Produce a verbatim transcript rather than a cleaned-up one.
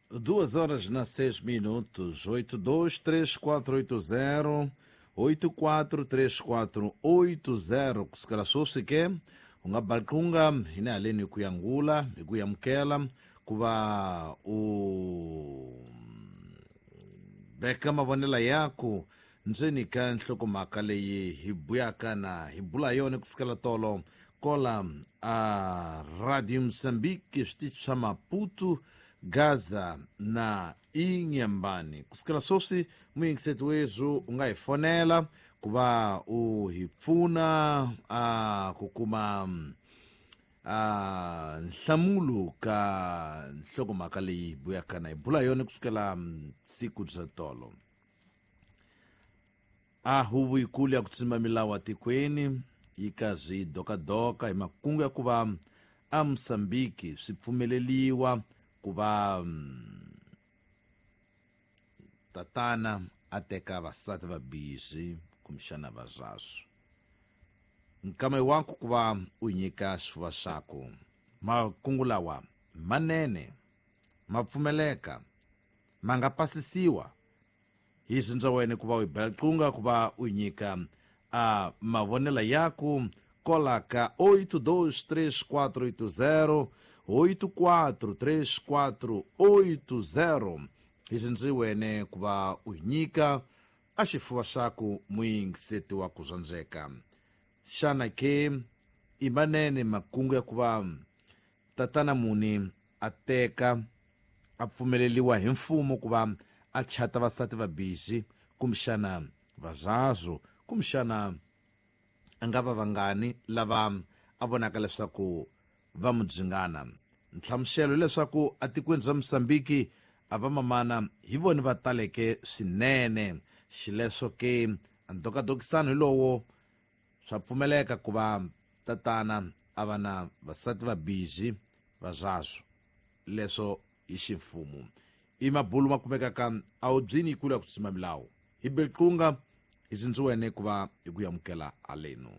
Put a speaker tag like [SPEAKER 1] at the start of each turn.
[SPEAKER 1] Duas horas na seis minutos, oito dois três quatro oito zero, oito quatro três quatro oito zero. Kusukela sweswi ke u nga balqunga hina haleni hi ku yangula hi ku amukela ku va u veka mavonelo yaku ndzeni ka nhlokomhaka leyi hi buyaka na hi bula yona kusukela tolo kola a Radio Mozambique switichi swa Maputo, Gaza na Inhambane. Kusukela sweswi muyingiseti wethu u nga hi fonela ku va u hi pfuna a ku kuma a nhlamulo ka nhlokomhaka leyi hi buyaka na hi bula yona kusukela siku bya tolo. A huvo yikulu ya ku tsima milawu atikweni yi karhi yi dokadoka hi makungu ya ku va a Mozambique swi pfumeleliwa ku va tatana a teka vasati va bizi kumbexana vazazwo. Nkama waku ku va u nyika xifuva xaku makungu lawa manene ma pfumeleka ma nga pasisiwa hi swindza wena ku va u yi bela qunga ku va u nyika a mavonelo yaku kola ka oito dois três quatro oito zero oito quatro três quatro oito zero. Hi swindzi wene ku va u nyika a xifuva xaku muyingiseti wa ku zwandzeka. Xana ke i manene makungu ya ku va tatana muni a teka a pfumeleliwa hi mfumo ku va a chata vasati va bizi kumbexana vazazwo kumbexana a nga va vangani lava a vonaka leswaku va mudzingana. Nhlamuselo hileswaku atikweni ra Mozambique a va mamana hi vona va taleke swinene. Xileswo ke ndokadokisano hi lowo swa pfumeleka ku va tatana a va na vasati va bizi vazazwo leswo hi ximfumo. I mabulu ma kumekaka a wu byini yikulu ya ku tsima milawu hi bilqunga hi sindzi wene ku va hi ku amukela aleno.